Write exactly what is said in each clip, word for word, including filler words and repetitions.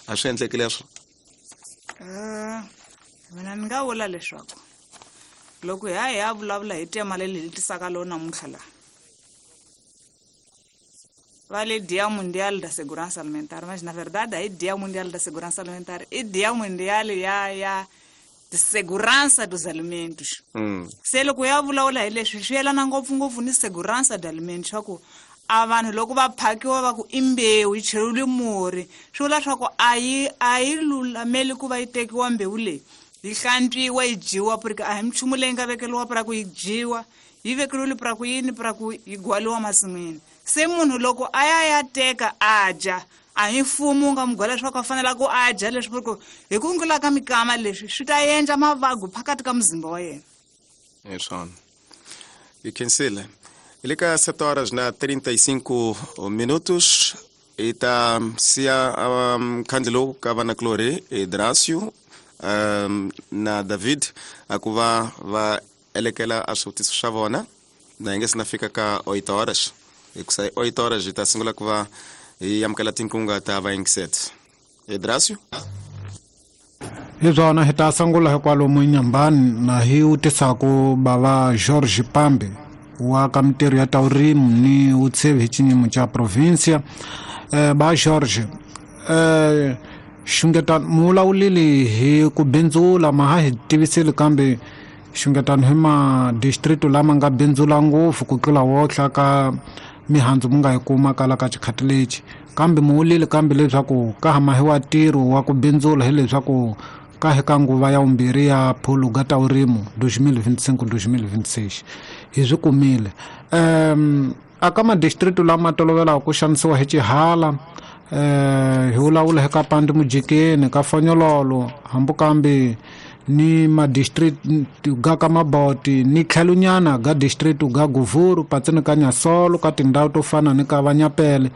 A swi endleki leswo? Mina ni nga vula leswaku loko hi ya hi ya vulavula hi tema leyi hi tisaka lo namuntlha laha va le Dia Mundial da Segurança Alimentar, mas na verdade aí Dia Mundial da Segurança Alimentar i Dia Mundial ya ya de Segurança dos Alimentos. Mm. Se loko ya vulavula hi leswi swi yelana ngopfungopfu ni segurança de alimentos swa ku a vanhu loko va phakiwa va ku i mbewu yi cheriwile murhi, swi vula swa ku a yi a yi lulameli ku va yi tekiwa mbewu leyi yi hlantswiwa yi dyiwa, porque a hi minchumu leyi nga vekeriwa pra ku yi dyiwa, yi vekeriwile pra ku yini, pra ku yi gwaliwa masin'wini. Se munhu loko a ya ya teka a dya, a hi mfumo wu nga mu gwala leswaku a fanela ku a dya leswi, porque hi ku ngula ka mikama leswi swi ta endla mavabyi phakathi ka muzimba wa yena. Hi swona. Hi khensile. Hi le ka sete horas na trinta e cinco minutos hi ta siya um, khandle lowu ka vanakulorhi Edracio um, na David a ku va va elekela a swivutiso swa vona na hi nge se na fika ka oito horas, hikusa hi oito horas hi ta sungula ku va hi amukela tinkunga ta vayingiseti. Edracio? Hi swona, hi ta sungula hi kwalomu Nyambani na hi vutisaku bava George Pambe wa ka mintirho ya ta vurimi ni vutshevi hi xiyimo xa provincia. Eh, ba George, eh, xungetano mu vulavulile hi ku bindzula, ma ha hi tivisile kambe xungetano hi ma district lama nga bindzula ngopfu ku tlula wohla ka mihandzu mu nga yi kuma kala ka xikhati lexi, kambe mu vulile kambe leswaku ka ha mahiwa ntirho wa ku bindzula hileswaku ka hi ka nguva ya vumbirhi ya phuluga ta vurimi dois mil vinte e cinco dois mil vinte e seis hi swi kumile. Um aka ma district lama tolovelaka ku xanisiwa hi xihala, eh hi vulavula hi ka Pandi Mujikeni, ka Fonyololo, hambi kambe ni ma district ga ka Maboti ni tlhelonyana ga district ga Guvuru, patsini ka Nyasolo, ka tindhawu to fana ni ka Vanyapele.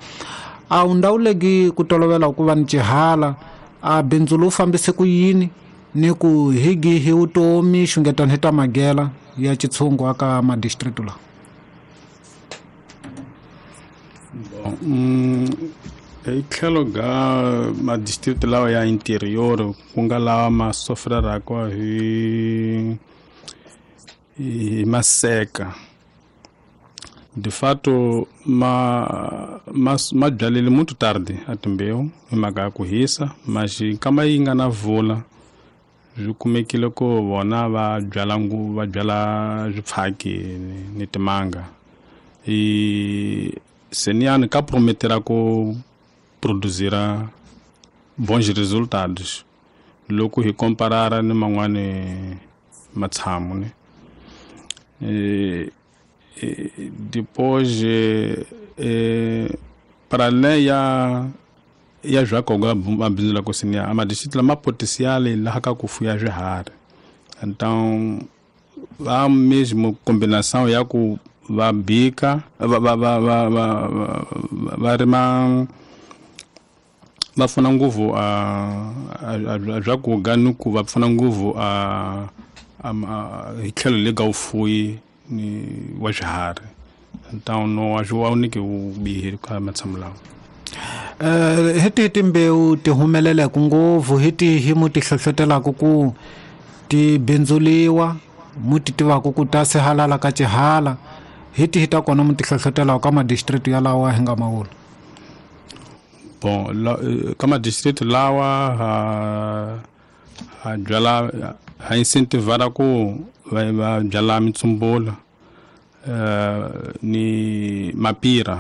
A wu ndhawu legi ku tolovela ku va ni xihala, a bindzu lowu fambise ku yini ni ku hi gihi vutomi xungetano hi ta magela ya xitshungu aka ma district lawa? Bon, mm, hi tlhelo ga ma district lawa ya interior ku nga lawa ma sofreraka hi hi maseka, de fato ma ma ma byalile muito tarde a timbewu hi mhaka ya ku hisa, mas nkama yi nga na vula swi kumekile ku vona va byala ngu va byala swipfhaki ni timanga. I seniyani ka prometera ku produzira bons resultados loko hi comparara ni man'wani matshamo ne. E, e, depois e, para além ya ya swakoga mabindzu la ku siniya a madistrict lama potencial laha ka ku fuya swiharhi, então va mesmo combinação ya ku va bika va va va va va va rima va pfuna ngopfu a a swakuga ni ku va pfuna ngopfu a hi tlhelo le ka vufuwi ni wa swiharhi, então no a swi wa niki vubihi ka matshamo lawa. Eh hi tihi timbewu ti humeleleke ngopfu, hi tihi mu ti hlohlotelaka ku ti bindzuliwa, mu ti tivaka ku ta sihalala ka xihala, hi tihi ta kona mu ti hlohlotelaka ka ma-district yalawa hi nga ma vula? Bon, la, ka ma-district lawa ha ha byala ha incentivara ku va va byala mitsumbula eh ni mapira,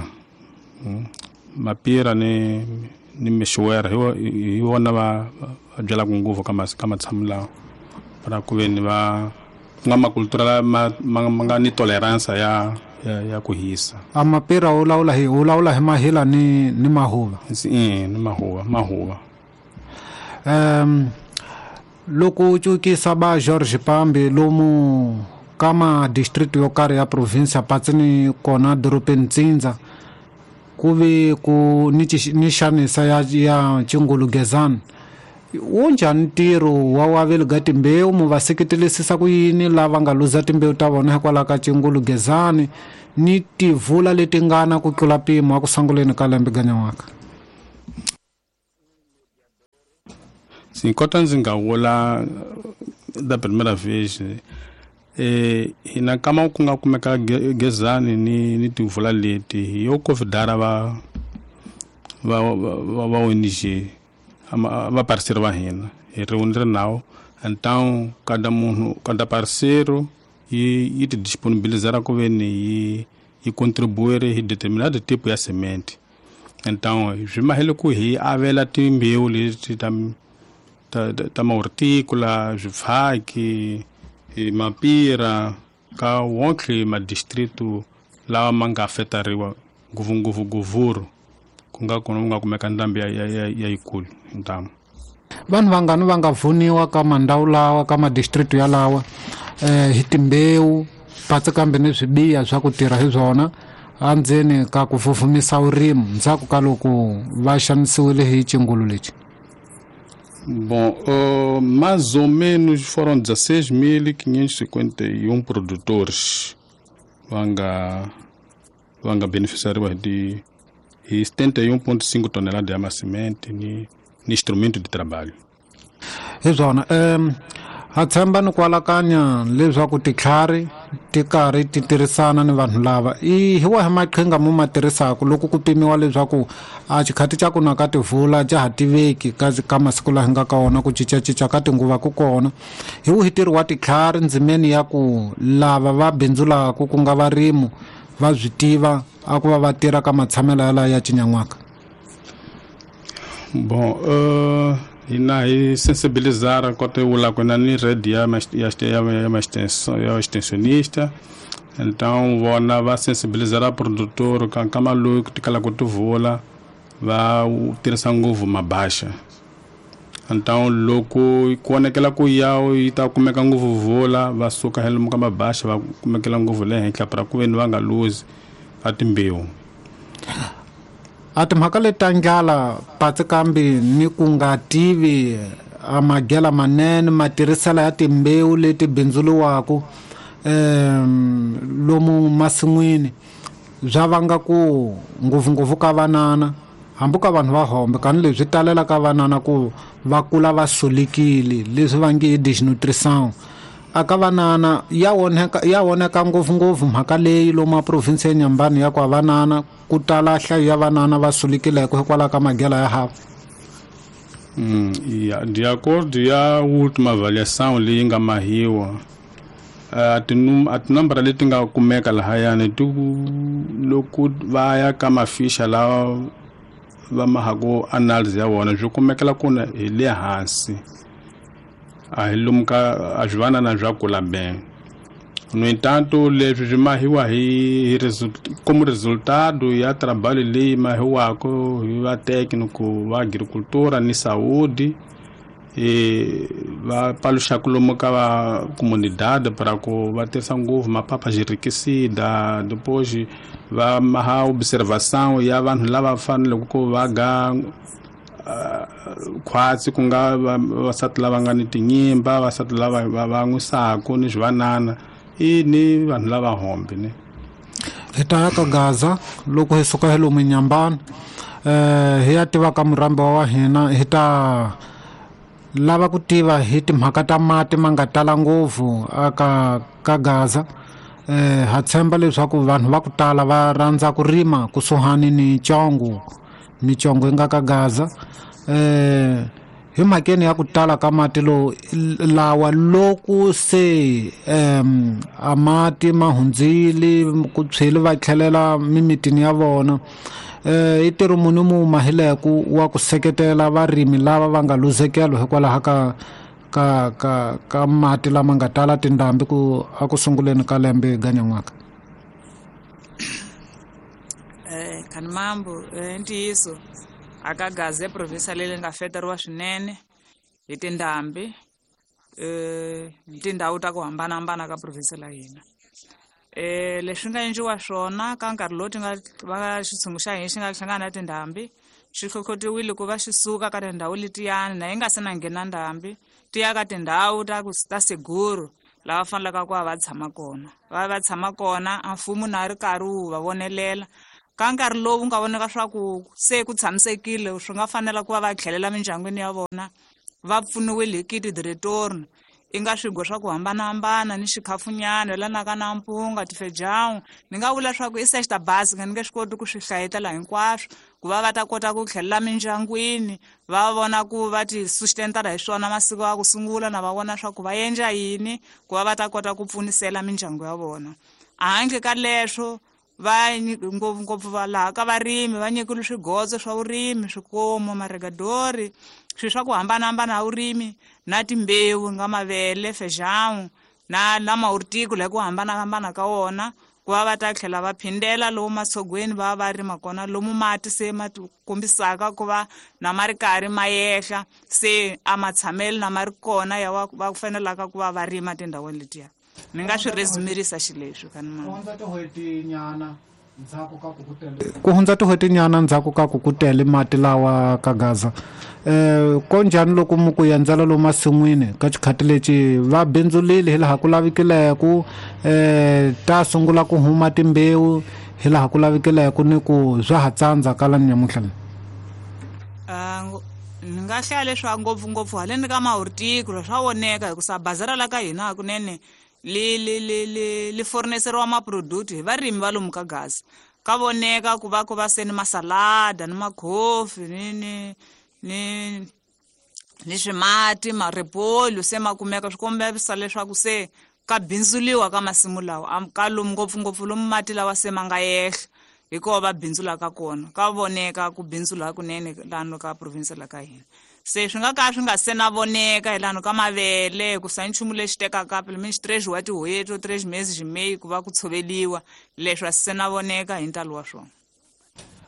mapira ni ni mixwera hi wona va byalaka ngopfu ka ka matshamo lawa para ku ve ni va ku nga makultura ma ma nga ni tolerance ya ya, ya ku hisa. A mapira u lawula hi u lawula hi mahila ni ni mahuva? Eh, ni mahuva, mahuva. Um loko u cukisa ba George Pambe lomu ka ma district yo karhi ya province patsini kona dorobeni Ntsindza ku ve ku ni ni xanisa ya ya Chingulugezana, wu njhani ntirho wa waveli ga timbewu, mu va seketelisisa ku yini lava nga luza timbewu ta vona hikwalaho ka Chingulugezani ni tivula leti nga na ku tlula mpimo wa ku sunguleni ka lembe ganyan'waka? Sim, kota ndzi nga vula da primeira vez eh hina kama ku nga kumeka gezani ni ni timvula leti hi yo convidar va va va va O N G va parceiro va hina hi reunir nao então cada munhu cada parceiro yi yi ti disponibilizar ku veni yi yi contribuir hi determinado tipo ya semente. Então swi mahele ku hi avela timbewu leti ta ta ta mahortícola, swifaki, mapira ka wonke ma distrito lawa ma nga afetariwa ngopfungopfu Govuro ku nga kona ku nga kumeka ndhambi ya ya ya yikulu ntamu. Vanhu vangani va nga pfuniwa ka mandhawu lawa ka madistrict ya lawa eh hi timbewu patsi kambe ni swibiya swa ku tirha hi swona andzeni ka ku fufumisa vurimi ndzhaku ka loko va xanisiwile hi xingulu lexi? Bom, uh, mais ou menos foram dezesseis mil quinhentos e cinquenta e um produtores vanga vanga beneficiariwa de setenta e um vírgula cinco toneladas de semente ni ni instrumento de trabalho. Hi swona um ha tshemba ni ku alakanya leswaku titlhari ti karhi ti tirhisana ni vanhu lava i hi wahi maqhinga mo ma tirhisaka loko ku pimiwa leswaku a xikhati xa ku na ka tivula ja ha tiveki ka ka masiku laha hi nga ka wona ku cincacinca ka tinguva ku kona hi wihi ntirho wa titlhari ndzimeni ya ku lava va bindzulaka ku nga varimu va swi tiva a ku va va tirha ka matshamelo yalawa ya cinyan'waka? Bom, uh, hina hi sensibilizar kota vula ku na ni rede ya ya ya extensão ya extensionista, então vona va sensibilizar a produtor ka nkama loyi ku tikala ku tivula va tirhisa ngopfu mabasha. Então loko ku vonakela ku ya yi ta kumeka ngopfu vula va suka hi lomu ka mabasha va kumekela ngopfu le henhla para ku veni va nga luzi ka timbewu. A timhaka leti ta ndlala patsi kambe ni ku nga tivi a magela manene matirhiselo ya timbewu leti bindzuriwaka um lomu masin'wini bya vanga ku ngopfungopfu ka vanana hambi ka vanhu va hombe kani leswi talela ka vanana ku va kula va solekile leswi va nge i desnutrition a ka vanana ya onheka ya onheka ngopfungopfu mhaka leyi lomu a province ya Nyambani ya ku a vanana ku tala nhlayo ya vanana va sulekileke hikwalaho ka magela ya hava. Mm, ya, de acordo ya última avaliação leyi nga mahiwa a tinum a tinambara leti nga kumeka lahayani ti loko va ya ka mafisha lawa va mahaku analysis ya vona swi kumekela kuna hi le hansi a hi lomu ka a swi vanana swa kula bem. No entanto leswi swi mahiwa hi como resultado ya trabalho leyi mahiwaka hi va técnico va agricultura ni saúde e va paluxaka lomu ka va comunidade para ku va tirhisa ngopfu mapapa xirikisida depois va maha observação ya vanhu lava faneleke ku va ga khwatsi ku nga vavasati lava nga ni tinyimba vavasati lava va va n'wisaku ni swivanana i ni vanhu lava hombe ni. Hi ta ya ka Gaza loko hi suka hi lomu Nyambani eh hi ya tiva ka murambi wa hina hi ta lava ku tiva hi timhaka ta mati ma nga tala ngopfu aka ka Gaza eh ha tshemba leswaku vanhu va ku tala va rhandza ku rima kusuhani ni Congo michongo yi nga ka Gaza eh hi mhakeni ya ku tala ka mati lo lawa loko se um a mati ma hundzile ku tshwele va tlhelela mimitini ya vona eh i ntirho muni mu mahileku wa ku seketela varimi lava va nga luzekelo hikwalaho ka ka ka ka mati lama nga tala tindhambi ku a ku sunguleni ka lembe ganyan'waka? Eh Khanimambo eh ntiyiso aka Gaza e province leyi nga feteriwa swinene hi tindhambi eh tindhawu ta ku hambanahambana ka province la hina. Eh leswi nga endliwa swona ka nkarhi lowu ti nga va xitshungu xa hina xi nga hlangana na tindhambi xi hlohlotiwile ku va xi suka ka tindhawu letiyani na yi nga se na nghena ndhambi ti ya ka tindhawu ta ku ta seguro lava fanelaka ku va va tshama kona va va tshama kona a mfumo na ri karhi wu va vonelela ka nkarhi lowu nga vonaka swa ku se ku tshamisekile swi nga fanela ku va va tlhelela mindyangwini ya vona Va pfuniwile hi kit de retorno i nga swigwa swa ku hambanahambana ni xikhafunyana yelanaka na mpunga tifejawu. Ni nga vula swa ku i sexta basic ni nge swi koti ku swi hlayetela hinkwaswo ku va va ta kota ku tlhelela mindyangwini va vona ku va ti sustentela hi swona masiku ya ku sungula na va vona swa ku va endla yini ku va va ta kota ku pfunisela mindyangu ya vona. Handle ka leswo va ngopfungopfu va laha ka varimi va nyikiwile swigotso swa vurimi, swikomo, maregadori, swilo swa ku hambanahambana ya vurimi na timbewu nga mavele, fejawu na na mahorticola hi ku hambanahambana ka wona ku va va ta tlhela va phindela lomu matshogweni va va rima kona lomu mati se ma kombisaka ku va na ma ri karhi ma yehla se a ma tshameli na ma ri kona ya va va fanelaka ku va va rima tindhawini letiya. Ni nga swi resumirisa xileswi ka ni ku hundza tin'hweti nyana ndzhaku ka ku ku tele mati lawa ka Gaza. Eh konjhani loko mu ku endzela lomu masin'wini ka xikhati lexi va bindzulile hi laha ku lavikileke eh ta sungula ku huma timbewu hi laha ku lavikileke ni ku swa ha tsandza ka la nyamuntlha leyi? Ni nga hlaya leswaku ngopfungopfu haleni ka mahorticola swa voneka hikusa bazara la ka hina hakunene li li li li li forneseriwa maproduct hi varimi va lomu ka Gaza. Ka voneka ku va ku va se ni masalada ni makhofi ni ni ni ni swimati maripolu se ma kumeka swi kombisa leswaku se ka bindzuliwa ka masimu lawa ka lomu ngopfungopfu lomu mati lawa se ma nga yehla hi kona va bindzulaka kona. Ka voneka ku bindzula hakunene lano ka province la ka hina. Se swi nga ka swi nga se na voneka hi lano ka mavele ku sa nchumu lexi tekaka pele mi três wa tin'hweti três meses meio ku va ku tshoveliwa leswi a swi se na voneka hi ntalo wa swona.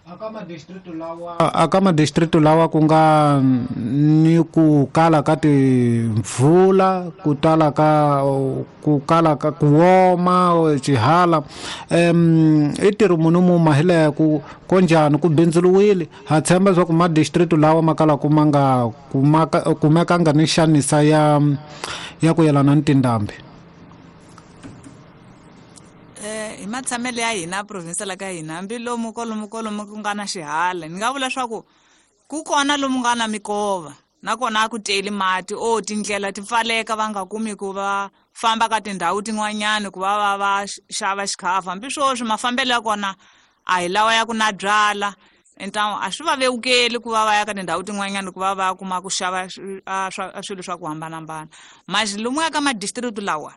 Aka madistrito lawa aka madistrito lawa ku nga ni ku kala ka timvula ku tala ka ku kala ka ku woma xihala em i ntirho munhu mu mahile ku konjhani ku bindzuriwile ha tshemba leswaku madistrito lawa ma kala ku ma nga kumekanga ni xanisa ya ya ku yelana ni tindhambi. Hi matshamelo ya hina province la ka hina hambi lomu kwalomu kwalomu ku nga na xihala ni nga vula leswaku ku kona lomu nga na mikova nakona a ku teli mati o tindlela ti pfaleka va nga kumi ku va famba ka tindhawu tin'wanyani ku va va va xava xikhafu hambi swoswi mafambelo ya kona a hi lawa ya ku na byala entamu a swi va vevukeli ku va va ya ka tindhawu tin'wanyani ku va va kuma ku xava swilo swa ku hambanahambana. Masi lomu ya ka madistrict lawa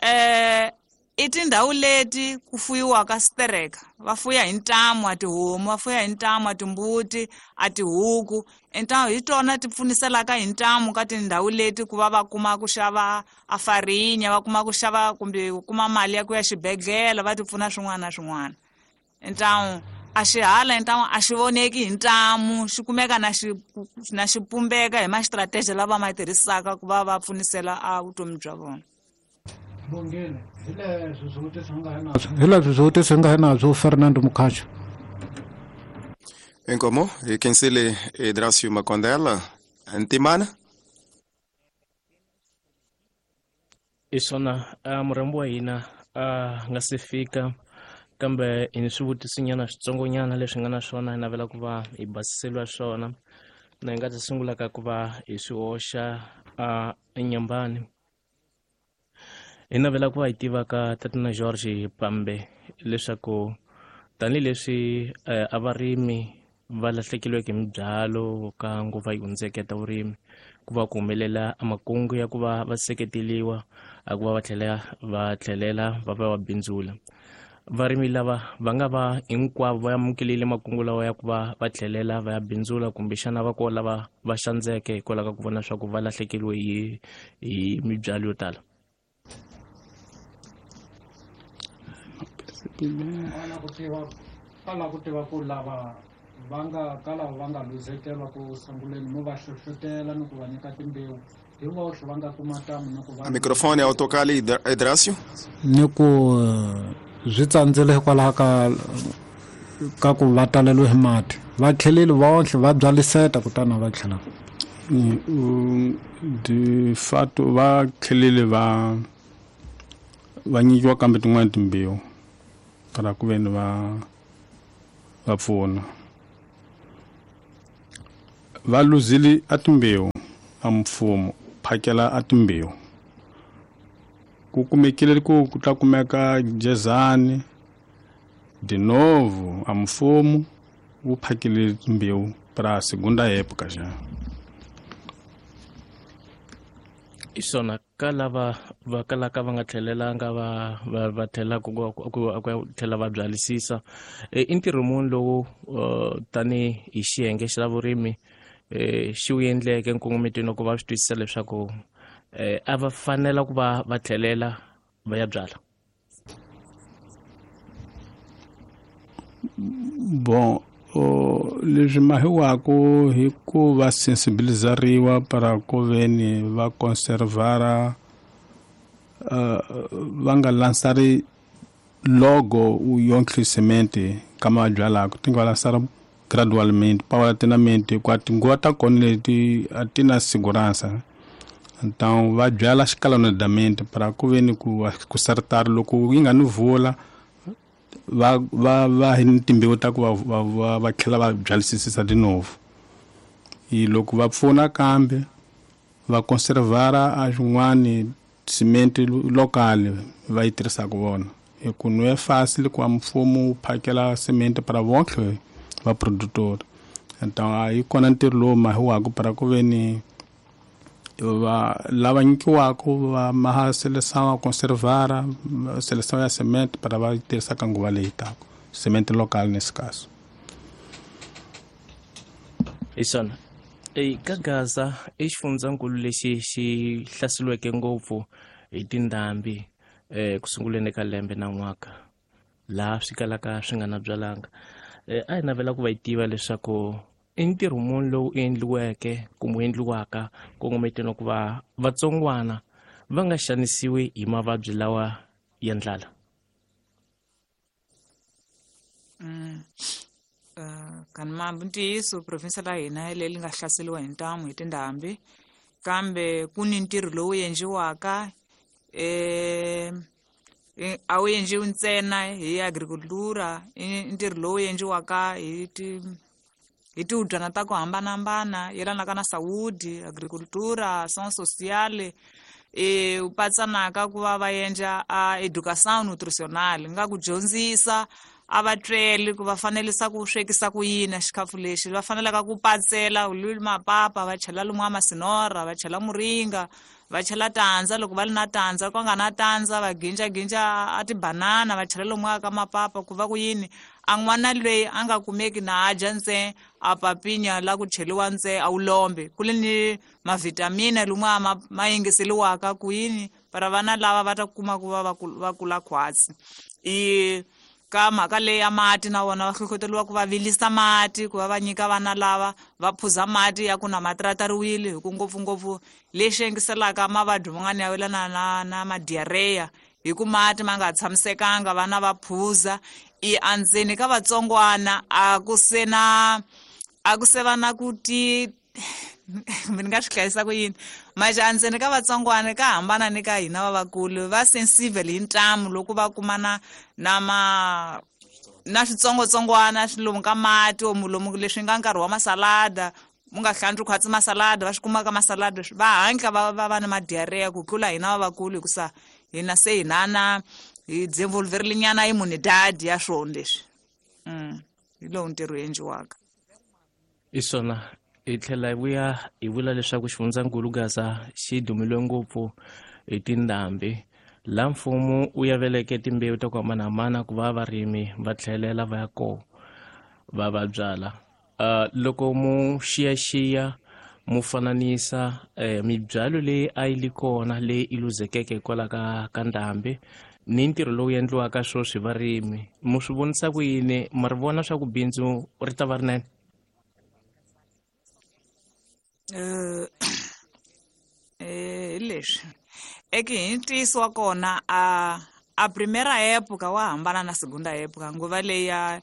eh i tindhawu leti ku fuyiwaka stereka va fuya hi ntamu a tihomu va fuya hi ntamu a timbuti a tihuku entamu hi tona ti pfuniselaka hi ntamu ka tindhawu leti ku va va kuma ku xava a farinya va kuma ku xava kumbe ku kuma mali ya ku ya xibedhlele va ti pfuna swin'wana na swin'wana. Entamu a xihala entamu a xi voneki hi ntamu xi kumeka na xi na xi pumbeka hi ma-strategy lava ma tirhisaka ku va va pfunisela a vutomi bya vona. Hi leswi swivutiso hi nga hinazwo Fernando Mukhacho. Inkomo hi khensile Edracio Makondela Ntimana. I swona murhambi wa hina a nga se fika kambe hi ni swivutisonyana switsongonyana leswi nga na swona hi navela ku va hi basiseliwa swona na hi nga ta sungula ka ku va hi swi hoxa a enyambani. Hi navela ku va hi tiva ka Tatana George Pambe leswaku tanihileswi a varimi va lahlekeriweke hi mibyalo ka nguva yi hundzeke ta vurimi ku va ku humelela a makungu ya ku va va seketeliwa a ku va va tlhela va tlhelela va va va bindzula. Varimi lava va nga va hinkwavo va amukelile makungu lawa ya ku va va tlhelela va ya bindzula kumbexana va kona lava va xandzeke hikwalaho ka ku vona leswaku va lahlekeriwe hi hi mibyalo yo tala. Ala ku tiva ala ku tiva ku lava va nga ka lava va nga luzekela ku sunguleni mo va hlohlotela ni ku va nyika timbewu hi voxe va nga kuma tamu ni ku va microfone ya tocar ali Edracio ni ku swi tsandzile hikwalaho ka ka ku va taleliwe hi mati va tlheleli voxe va byaliseta kutani va tlhela de fato va tlhelele va va nyikiwa kambe tin'wana timbewu kala ku veni va va pfuna va luzile a timbewu a mfumo phakela a timbewu ku kumekile ku ku ta kumeka jezani de novo a mfumo wu phakele timbewu para segunda época já. Isona ka lava va kalaka va nga tlhelelanga va va va tlhela ku ku ku tlhela va byalisisa i ntirho muni lowu tani hi xiyenge xa vurimi xi wu endleke nkongometweni ku va swi twisisa leswaku a va fanela ku va va tlhelela va ya byala? Bon, leswi mahiwako hi ku va sensibilizariwa para ku veni va conservara uh, va nga lansari logo u yonke semente kama byalaka ti nga lansara gradualmente paulatinamente kwa tinguva ta kona leti a ti na segurança. Então va byala escalonadamente para ku veni ku ku sartar loko yi nga ni vula va va va hi timbewu ta ku va va va tlhela va byalisisa de novo. E loko va pfuna kambe va conservara a swin'wani cement local va yi tirhisaka vona hi ku no é fácil ku a mfumo wu phakela cement para vonke va produtor. Então aí kona ntirho lowu mahiwaka para ku veni va lava nyikiwaka va maha seleção a conservara seleção ya cement para va tirhisa ka nguva leyi taka cement local nesse caso. Isona e ka Gaza i xifundzankulu lexi xi hlaseriweke ngopfu hi tindhambi eh ku sunguleni ka lembe na n'waka laha swi kalaka swi nga na byalanga. A hi navela ku va yi tiva leswaku i ntirho muni lowu endliweke kumbe endliwaka kongometeni ku va vatsongwana va nga xanisiwi hi mavabyi lawa ya ndlala? Mm. Uh, kan mambu ntiyiso province la hina leyi nga hlaseriwa hi ntamu hi tindhambi kambe ku ni ntirho lowu endliwaka eh a wu endliwi ntsena hi agricultura, i ntirho lowu endliwaka hi ti hi tihubyana ta ku hambanahambana yelanaka na saúde, agricultura, ação social, e u patsanaka ku va va endla a educação nutricional nga ku dyondzisa a va tweli ku va fanelisa ku swekisa ku yini xikhafu lexi va fanelaka ku patsela mapapa va chela lumwa masinora va chela muringa va chela tandza loko va li na tandza ku nga na tandza va ginja ginja a tibanana va chela lumwa ka mapapa ku va ku yini a n'wana loyi a nga kumeki na a dya ntse a papinya la ku cheliwa ntse a wu lombe ku li ni mavitamina lumwa ma, ma yingiseliwaka ku yini para vana lava va ta kuma ku va va kula khwatsi. I ka mhaka leyi ya mati na vona va hlohloteriwa ku va vilisa mati ku va va nyika vana lava va phuza mati ya ku na matratariwile hi ku ngopfungopfu lexi engiselaka mavabyi man'wana ya welana na na madiarrhea hi ku mati ma nga tshamisekanga vana va phuza. I andzeni ka vatsongwana a ku se na a ku se va na ku ti ni nga swi hlayisa ku yini manje andzeni ka vatsongwana ka hambana ni ka hina vavakulu va sensible hi ntamu loko va kumana na ma na switsongotsongwana swi lomu ka mati omu lomu leswi nga nkarhi wa masalada mu nga hlantswi khwatsi masalada va swi kuma ka masalada va hatla va va va na madiarrhea ku tlula hina vavakulu hikusa hina se hina na hi desenvolverile nyana imunidade ya swona leswi. Mm hi lowu ntirho endliwaka. Isona hi tlhela hi vuya hi vula leswaku xifundzankulu Gaza xi dumile ngopfu hi tindhambi laha mfumo wu yaveleke timbewu ta ku hambanahambana ku va varimi va tlhelela va ya kona va va byala. Uh, loko mu xiyaxiya mu fananisa eh, mibyalo leyi a yi li kona leyi i luzekeke hikwalaho ka ka ndhambi ni ntirho lowu endliwaka sweswi varimi mu swi vonisa ku yini ma ri vona swa ku bindzu ri ta va rinene? Eh eh leswi eke hi ntiyiso wa kona a a primeira época wa hambana na segunda época nguva leyi ya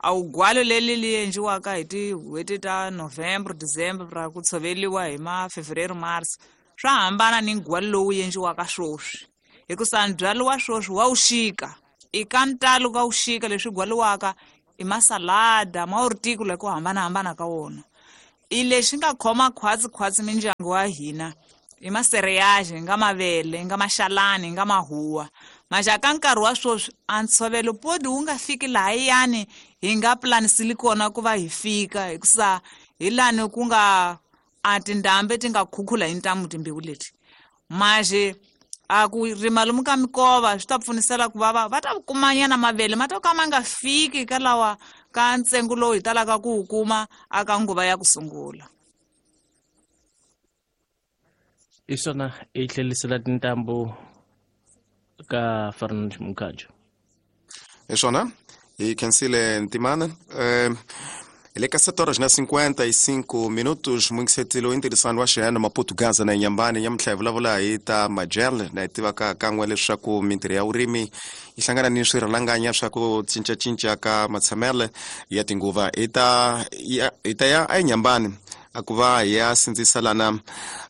a wu leli li endliwaka hi tin'hweti ta November, December ra ku tshoveriwa hi ma Fevereiro, March swa hambana ni ndzhwalo lowu endliwaka sweswi hikusa ndzhwalo wa sweswi wa wu xika i ka ntalo ka wu xika leswi gwaliwaka i masalada ma horticola ku hambanahambana ka wona. I lexi nga khoma khwatsi khwatsi mindyangu wa hina i masereyaje nga mavele nga maxalani nga mahuwa. Maxa ka nkarhi wa sweswi a ntshovelo podi wu nga fiki lahayani hi nga planisili kona ku va hi fika, hikusa hi lani ku nga a tindhambi ti nga khukhula hi ntamu timbewu leti. Maje a ku rima lomu ka mikova swi ta pfunisela ku va va va ta kumanyana mavele ma to ka ma nga fiki ka lawa ka ntsengo lowu hi talaka ku wu kuma aka nguva ya ku sungula. I swona i tlhelisela tintambu ka Fernand Mukhajo. I swona hi khensile Ntimana. Eh, Ele é sete horas na cinquenta e cinco minutos, muito cedo interessante wa xena Maputo Gaza na Inhambane nyamutlha hi vulavula hi ta majel na hi tivaka kan'we leswaku mintirho ya vurimi yi hlangana ni swirhalanganya swa ku cincacinca ka matshamele ya tinguva. Hi ta hi ta ya eNyambane a ku va hi ya sindzisa lana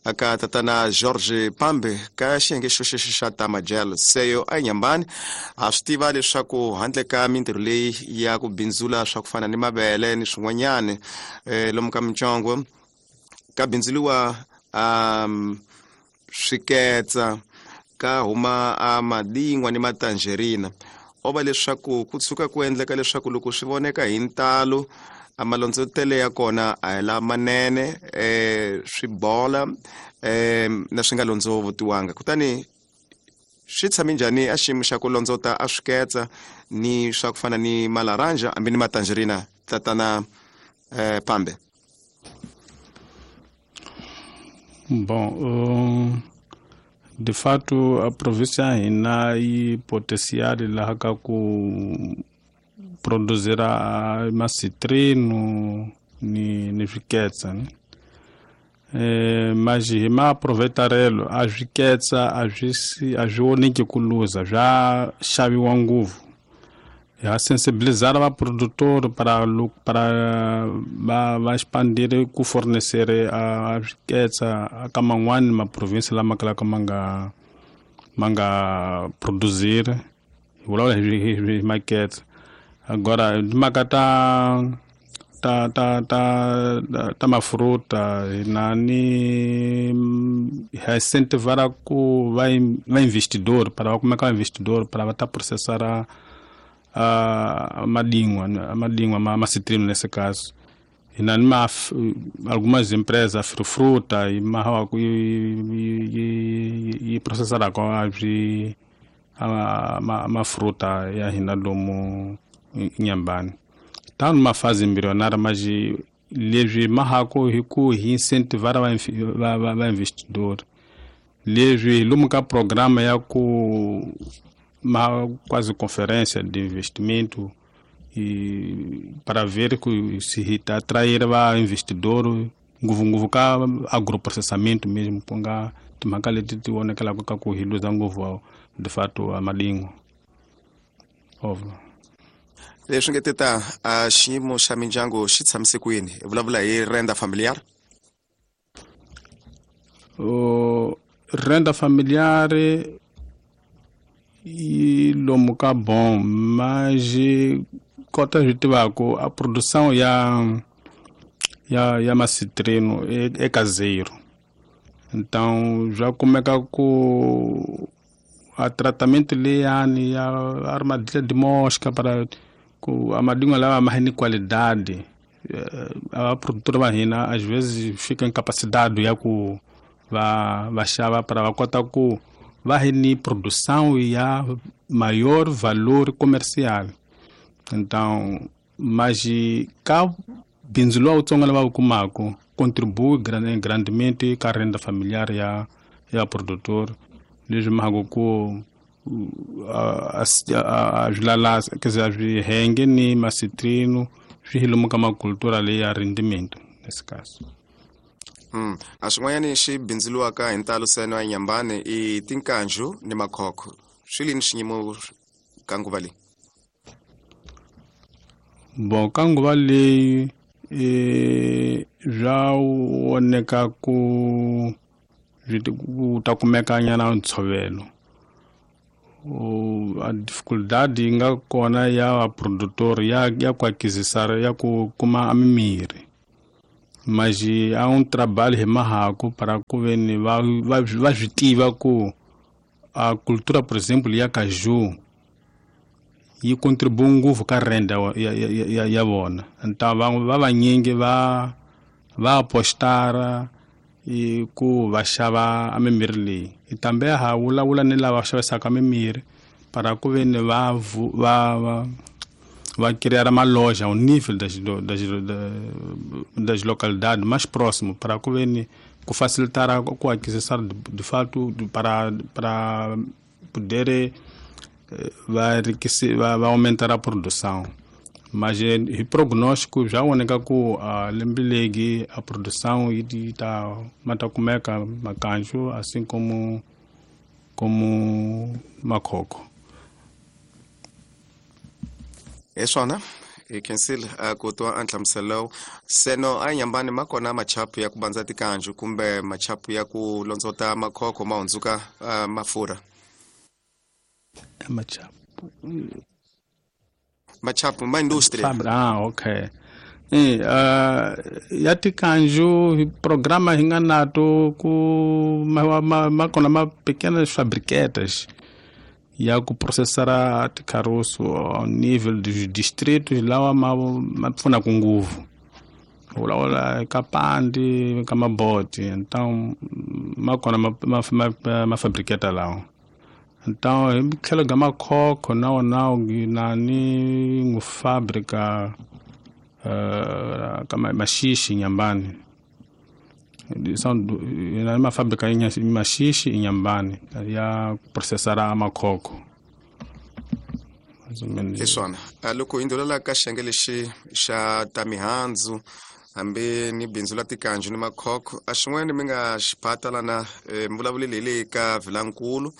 aka tatana George Pambe ka xiyenge xo xexo xa ta majel seyo eNyambane. A swi tiva leswaku handle ka mintirho leyi ya ku bindzula swa ku fana ni mavele ni swin'wanyana eh, lomu ka mitsongo ka bindzuriwa um, swiketsa ka huma a madingwa ni matangerina. O va leswaku ku tshuka ku endleka leswaku loko swi voneka hi ntalo a malondzotele ya kona a hi lamanene eh, swi bola eh, na swi nga londzovotiwanga. Kutani swi tshame njhani a xiyimo xa ku londzota a swiketsa ni swa ku fana ni malaranja hambi ni matangerina tatana eh, Pambe? Bom, uh, de fato a província ya hina yi potencial laha ka ku produzir a macitrino ni ni swiketsa ne? Eh, mas hi maaproveitarelo a swiketsa a swi a swi voneki ku luza swa xaviwa ngopfu. Ha sensibilizar va produtor para para va va expandir ku fornecer a swiketsa ka man'wani ma province lama kalaka ma nga ma nga produzir hi vulavula hi hi maketsa. Agora timhaka ta ta ta ta ta mafruta hina ni ha incentivar ku va va investidor para va kumeka investidor para va ta processar a a madingwa madingwa ma macitrino nesse caso. Hina ni ma algumas empresas fruta e ma ku yi processar ko a swi a ma fruta ya hina lomu Inhambane. Tá numa fase embrionária, mas leswi mahako hi ku hi incentivar va va va investidor. Leswi lomu ka programa ya ku ma quase conferência de investimento e para ver que se tá atrair va investidor ngopfu ngopfu ka agroprocessamento mesmo ku nga timhaka leti ti vonekelaka ka ku hi luza ngopfu de fato a madingo. Óbvio. Leswi nge teta a xiyimo xa mindyangu xi tshamise kwini? Hi vulavula hi renda familiar. O renda familiar yi lomu ka bom, mas kota swi tivaka a produção ya ya ya macitrino é, é caseiro. Então já kumeka ku a tratamento leyani ya armadilha de mosca para ku a madingo lava mais ni qualidade. A produtora va hina às vezes fica incapacidade ya ku va va xava para va kota ku va hi ni produção ya maior valor comercial. Então, mas ka bindzu lowu wutsongo lava wu kumaka contribui grandemente ka renda familiar ya ya produtor. Leswi mhaka ku a swi lalasa, quer dizer, a swi henge ni macitrino swi hi lomu ka macultura leyi ya rendimento nesse caso. Mm. A swin'wanyani xi bindzuriwaka hi ntalo seno ya Inhambane i tinkanju ni makhokho. Swi lini xiyimo ka nguva leyi? Bom, ka nguva leyi e swa voneka ku ku ta kumeka nyana ntshovelo. A dificuldade yi nga kona ya va produtor ya ya ku aquisitar ya ku kuma a mimirhi. Mas há um trabalho remarraco para ku veni va va va swi tiva ku a cultura, por exemplo, ya caju yi contribui ngopfu ka renda ya ya ya vona. Então va va vanyingi va va apostara i ku va xava a mimirhi leyi. Tambe ha vulavula ni lava xavisaka mimirhi para ku veni va va va va criar uma loja ao nível das das das localidades mais próximo para ku veni ku facilitar a ku aquisição de, de fato de, para para poder va enriquecer, va, va aumentar a produção. Mas o prognóstico já oneka ku a lembilegi a produção e tá mata kumeka makanjo assim como como makhoko. É swona hi khensile ku twa a nhlamuselo seno a nyambani ma kona machapu ya ku bandza tikanju kumbe machapu ya ku londzota makhokho ma hundzuka uh, mafurha. Machapu machapu ma industria. Ah, okay. Eh, uh, ya tikanju programa hi nga nato ku ma, ma, ma kona ma pequenas fabriquetas ya ku processar ticaroço ao nível dos distritos lawa ma ma pfuna ku nguvu vulavula ka pandi ka maboti. Então ma kona ma ma, ma, ma fabriqueta lawa. Então hi tlhelo ga makhokho na wona nani ngu fábrica uh, ka maxixi Inhambane. São na uma fábrica em Maxixe em Inhambane ya processar a makhokho. Mais ou menos. Hi swona loko hi ndhulela ka xiyenge lexi xa ta mihandzu hambi ni bindzu la tikanju ni makhokho a xin'wana mi nga xiphata lana mi vulavuleli hi le ka Vilankulu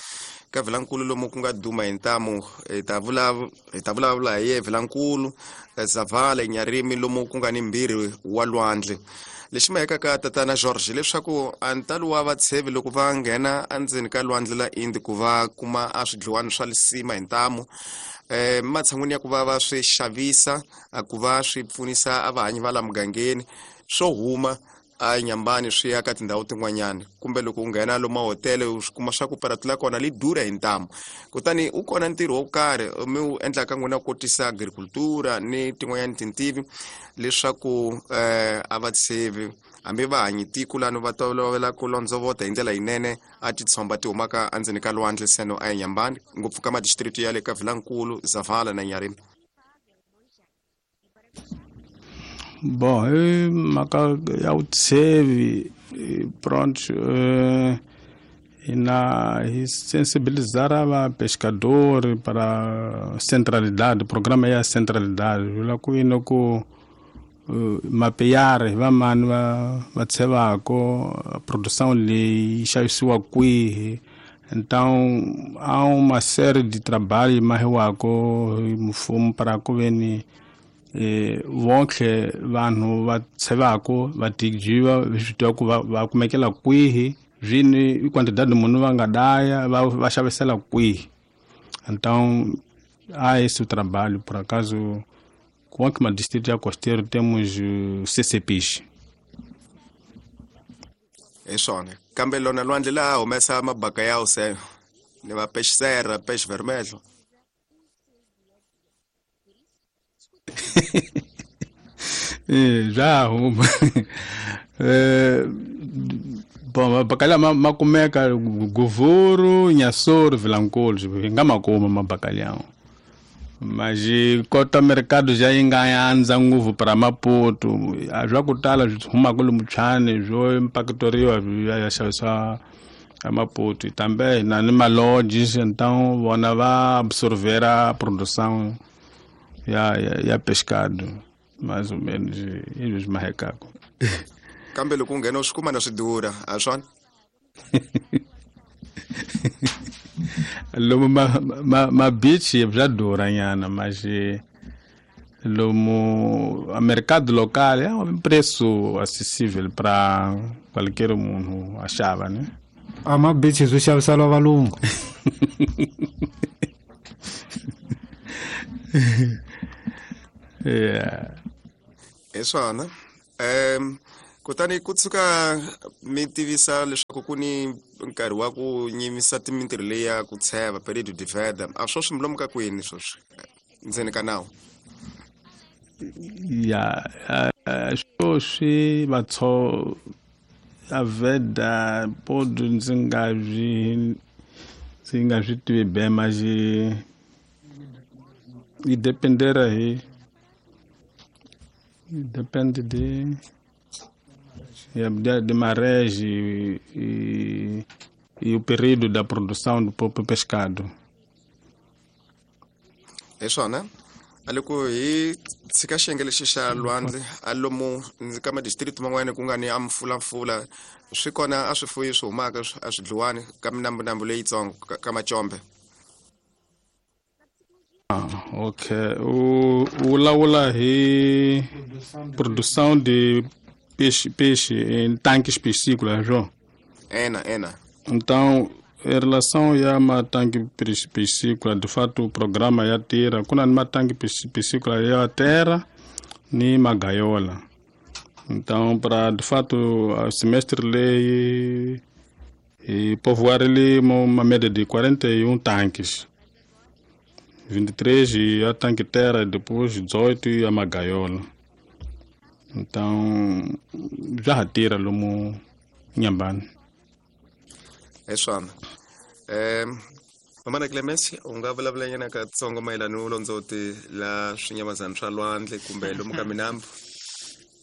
ka Vilankulu lomu ku nga duma hi ntamu hi ta vulavula hi ta vulavula hi ye Vilankulu Zavala Nyarimi lomu ku nga ni mbirhi wa lwandle. Lexi maheka ka tatana George leswaku a ntalo wa vatshevi loko va nghena endzeni ka lwandle la Indi ku va kuma a swidliwani swa lisima hi ntamu eh matshan'wini ya ku va va swi xavisa ku va swi pfunisa a vahanyi va la mugangeni swo huma a Nyambani swi ya ka tindhawu tin'wanyana kumbe loko u nghena lomu mahotele u swi kuma swa ku paratu la kona li durha hi ntamu. Kutani u kona ntirho wo karhi mi wu endlaka n'wina ku kotisa agricultura ni tin'wanyana tintivi leswaku eh a vatshevi hambi va hanyi tiko lano va tolovela ku londzovota hi ndlela yinene a titshomba ti humaka endzeni ka lwandle seno a Nyambani ngopfu ka madistrict ya le ka Vilankulu, Zavala na Nyarimi. Bom, eh, mhaka ya vutsheve pronto eh, na hi sensibilizar va pescador para centralidade, programa ya centralidade vula ku yini ku uh, mapear va mani va va tshevako produção leyi xavisiwa kwihi. Então há uma série de trabalho mahiwako hi mfumo para ku veni eh vonke vanhu va tshevako va tijiva swi tiva ku va va kumekela kwihi zvini quantidade munhu va nga daya va va xavisela kwihi. Então há esse trabalho. Por acaso com que distrito ya costeiro temos C C Ps. É swona kambe lona lwandle la humesa mabaka ya se ni va peixe serra, peixe vermelho. Eh, já huma. Eh, bom, mabacalhau ma kumeka Govoro, Inhassoro, Vilanculo, hi nga ma kuma mabacalhau. Mas kota mercado já yi nga andza ngopfu para Maputo, a swa ku tala swi humaka lomu Tshwane swo impactoriwa swi ya xavisiwa a Maputo. Também na ni malodges, então vona va absorver a produção ya ya, ya pescado, mais ou menos eles marrecako. Kambe loko u nghena u swi kuma na swi durha a swona. Lomu ma ma, ma beach bya durha nyana, mas lomu a mercado local é um preço acessível para qualquer munhu a xava, né? A ma beach swi xavisela valungu. Yeah. É swona. Um Kutani ku tshuka mi tivisa leswaku ku ni nkarhi wa ku nyimisa mintirho leyi ya ku tsheva período de veda. A swo swi milomu ka kwini sweswi ndzeni ka nawu? Ya, sweswi vatso a veda podo ndzi nga byi ndzi nga swi tivi be mas yi dependera hi depende de de, de marés e, e, e o período da produção do próprio pescado. É só, né? A loko hi tshika xiyenge lexi xa lwandle a lomu ka madistrict man'wana ku nga ni a mfulamfula swi kona a swifuyi swi humaka a swi dliwani ka minambunambu leyitsongo ka macombe. Ah, ok. O vulavula hi produção de peixe, peixe em tanques piscícolas, João? Ena, ena. Então, em relação a uma tanque piscícola, de fato o programa ya tira, kuna ni matanque piscícola ya terra ni magaiola. Então, para de fato o semestre lei e povoar ali uma, uma média de quarenta e um tanques. vinte e três e a tanque terra e depois dezoito e a magaiola. Então, já retira lomu Inhambane. É só. É, Mamana Clemência, u nga vulavulanyana katsongo mayelana ni vulondzoti la swinyamazana swa lwandle kumbe lomu ka minambu?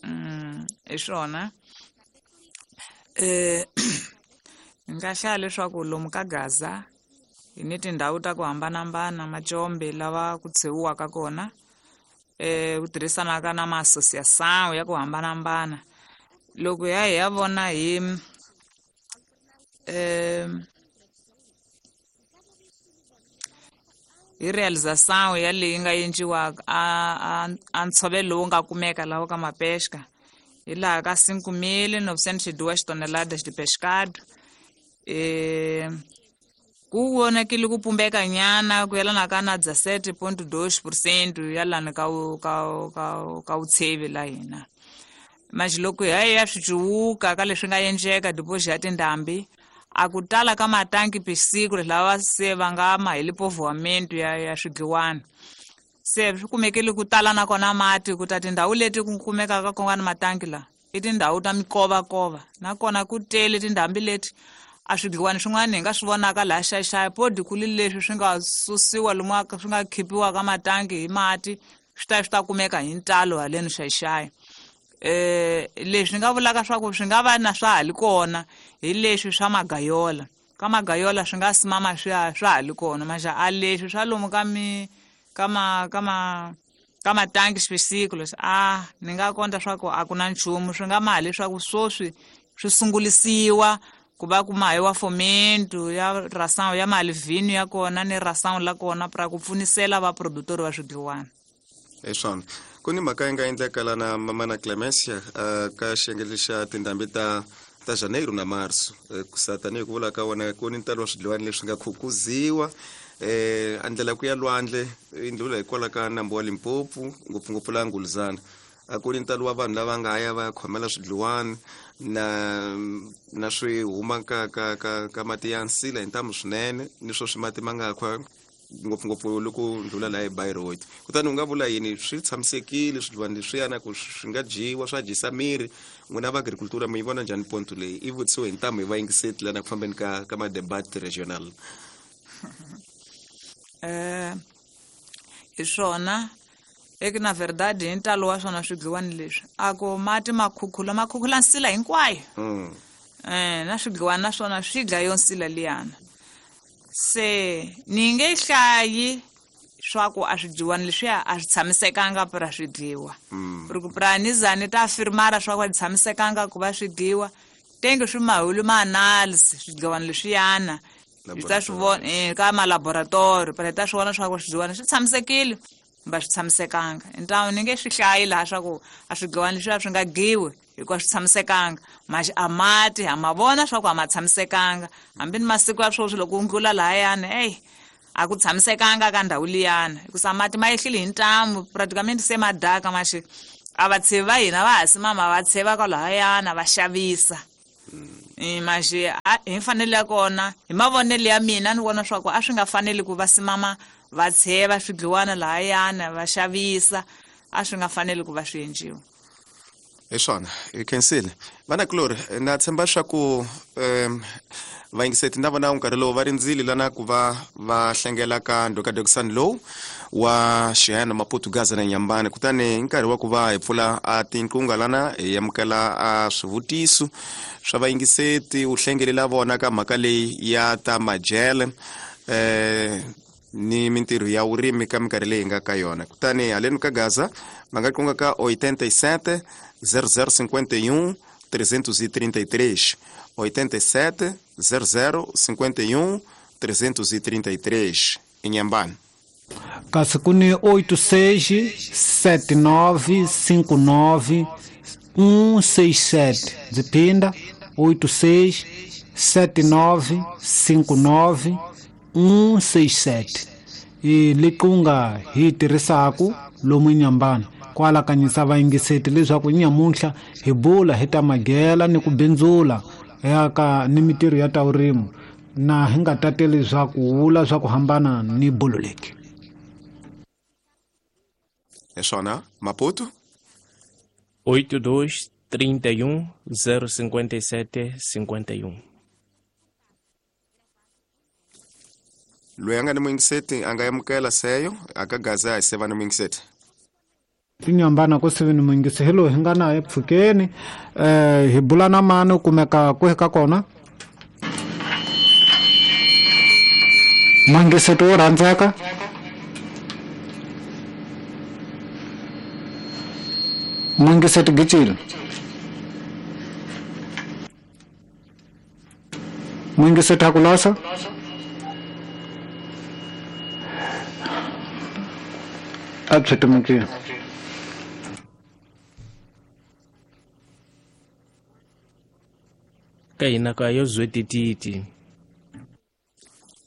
Mm, hi swona. Eh, ni nga hlaya leswaku lomu ka Gaza hi ni tindhawu ta ku hambanahambana macombe lava ku tshewiwaka kona eh ku tirhisanaka na ma-associação ya ku hambanahambana. Loko hi ya hi ya vona hi eh hi realização ya leyi nga endliwaka a a ntshovelo lowu nga kumeka laha ka mapesca hi laha ka cinco mil novecentos e duas toneladas de pescado. Eh ku vonakile ku pumbeka nyana ku yelana ka na dezessete ponto dois por cento ya lana ka ka ka ka vutshevi la hina. Mas loko hi ya swi cuwuka ka leswi nga endleka depois ya tindhambi a ku tala ka matanki piscícolas lava se va nga ma hi povoamento ya ya swidliwana. Se swi kumekile ku tala nakona mati ku ta tindhawu leti ku kumekaka ku nga ni matanki la i tindhawu ta mikovakova nakona ku tele tindhambi leti a swidliwani swin'wana hi nga swi vonaka laha xaxaya podi ku li leswi swi nga susiwa lomu swi nga khipiwa ka matanki hi mati swi ta swi ta kumeka hi ntalo haleni xaxaya. Eh leswi nga vulaka swa ku swi nga va na swa ha li kona hi leswi swa magayola. Ka magayola swi nga simama swi swa ha li kona maxa a leswi swa lomu ka mi ka ma ka ma ka matanki swisiklo a ni nga konta swa ku a ku na nchumu swi nga ma leswaku swoswi swi sungulisiwa ku va ku mahiwa fomento ya ração ya malivhino ya kona ni ração la kona pra ku pfunisela va produtor va swidliwana. É swona. Ku ni mhaka yi nga endleka lana Mamana Clemência ka xiyenge lexa tindhambi ta ta janeiro na março ku sa tanihi ku vula ka wona ku ni ntalo wa swidliwani leswi nga khukuziwa eh a ndlela ku ya lwandle i ndlula hikwalaho ka nambu wa Limpopo ngopfungopfu laha Nguluzana a ku ni ntalo wa vanhu lava nga ya va ya khomela swidliwani na na swi huma ka ka ka ka mati ya nsila hi ntamu swinene ni swo swi mati ma nga khwa ngopfungopfu loko ndlula laha hi Bayreuth. Kutani u nga vula yini swi tshamisekile swidliwani leswiyana ku swi nga dyiwa swa dyisa miri n'wina va agricultura mi yi vona njhani ponto leyi i vutisiwe hi ntamu hi vayingiseti lana ku fambeni ka ka ma-debat regional? Eh hi swona eke na verdade hi ntalo wa swona swidliwani leswi a ku mati ma khukhula ma khukhula nsila hinkwayo. Mm. Eh na swidliwani na swona swi dlaya yo nsila liyana. Se ni nge hlayi swa ku a swidliwani leswiya a swi tshamisekanga pra swi dliwa. Ku pra ni za ni ta afirmara swa ku a tshamisekanga ku va swi dliwa tenge swi mahulu ma analysis swidliwani leswiyana hi ta swi vona eh ka ma laboratory pra hi ta swi vona swa ku swidliwani swi tshamisekile kumbe a swi tshamisekanga. Então ni nge swi hlayi laha swa ku a swidliwani leswiya swi nga dyiwi hikuva swi tshamisekanga mas a mati ha ma vona swa ku a ma tshamisekanga hambi ni masiku ya sweswi loko u ndlula lahayani eyi a ku tshamisekanga ka ndhawu liyana hikusa mati ma yehlile hi ntamu praticamente se ma daka maxi A va tshevi va hina va ha simama va tsheva kwalahayana va xavisa. Mas hi mfanelo ya kona hi mavonelo ya mina ni vona swa ku a swi nga faneli ku va simama va tsheva swidliwana lahayana va xavisa, a swi nga faneli ku va swi endliwa. Hi swona hi khensile vanakulori na tshemba swa ku um vayingiseti na vona nkarhi lowu va rindzile lana ku va va hlengela ka ndhokadokisani lowu wa Xihena Maputo Gaza na Nyambane. Kutani hi nkarhi wa ku va hi pfula a tinqunga lana hi amukela a swivutiso swa vayingiseti u hlengelela vona ka mhaka leyi ya ta majele eh ni mintirho ya vurimi ka minkarhi leyi nga ka yona. Kutani haleni ka Gaza va nga qunga ka oitenta e sete zero zero cinquenta e um trezentos e trinta e três, oitenta e sete zero zero cinquenta e um trezentos e trinta e três Inhambane. Kasi ku ni oito seis sete nove cinco nove um seis sete. Ndzi phinda oito seis sete nove cinco nove um seis sete. I liqunga hi tirhisaku lomu Inhambane kwala kanyisa vayingiseti leswaku nyamuntlha hi bula hi ta magela ni ku bindzula ya ka ni mintirho ya ta vurimi na hi nga tateli swa ku vula swa ku hambana ni bolo leki. Hi swona Maputo oito dois trinta e um zero cinquenta e sete cinquenta e um. Loyi a nga ni muyingiseti a nga amukela seyo a ka Gaza hi seva ni muyingiseti. Tinyambana ku sivi ni muyingisi hi loyi hi nga na epfhukeni eh hi bula na mani u kumeka kwihi ka kona. Muyingiseti wo rhandzeka muyingiseti Gicile muyingiseti Hakulasa a byi timukile. Ka hina ka yo zwetititi.